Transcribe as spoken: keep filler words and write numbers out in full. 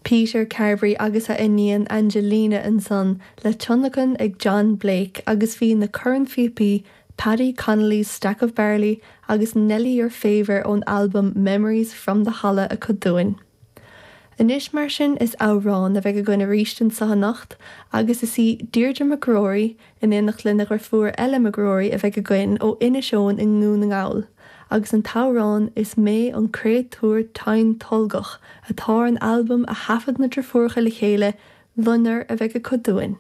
Peter Carberry agus a iníon Angelina ansan le tionlacan ag John Blake agus bhí na cornphíopaí Paddy Connolly's Stack of Barley agus Nelly Your Favour ón album Memories from the Holla acu dúinn. Anois mar sin is amhrán a bheidh againn arís anseo anocht agus is í Deirdre McGrory in éineacht lena deirfiúr Ella McGrory a bheidh againn ó Inis Eoghain i nDún na nGall, agus an t-amhrán is mé an créatúr tinn tolgach atá ar an albam a thaifead na deirfiúracha le chéile Loinnir a bheidh acu dúinn.